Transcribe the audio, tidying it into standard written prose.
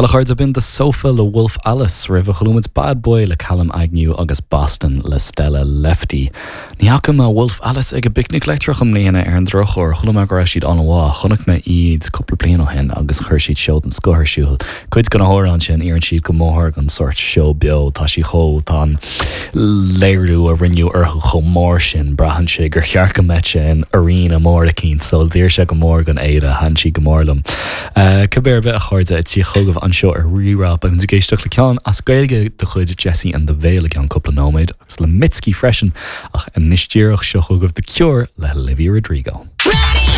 Bhuel, a chairde, b'in The Sofa le Wolf Alice, roimhe chuala muid Bad Boy le Callum Agnew agus Boston le Stella Lefty. Ní fhaca mé Wolf Alice ag an bPicnic Leictreach i mbliana ar an drochuair, chuala mé go raibh siad an-mhaith. Chonaic mé iad cúpla bliain ó shin agus chuir siad seó den scoth ar siúl. Cuid de na hamhráin sin, oireann siad go mór don sórt seó beo. Tá sí chomh, tá an léiriú a rinneadh orthu chomh mór sin, braitheann sé gur cheart go mbeadh sé in arena mór eicínt, so d'oir sé go mór don fhéile, thaitin siad go mór liom. Cibé ar bith, a chairde, ag tíocht chugaibh anseo ar Rí-Rá, beidh muid ag éisteacht le ceann as Gaeilge de chuid Jesse and the Veil i gceann cúpla nóiméad, agus le Mitski freisin, ach anois díreach, seo chugaibh The Cure le Olivia Rodrigo.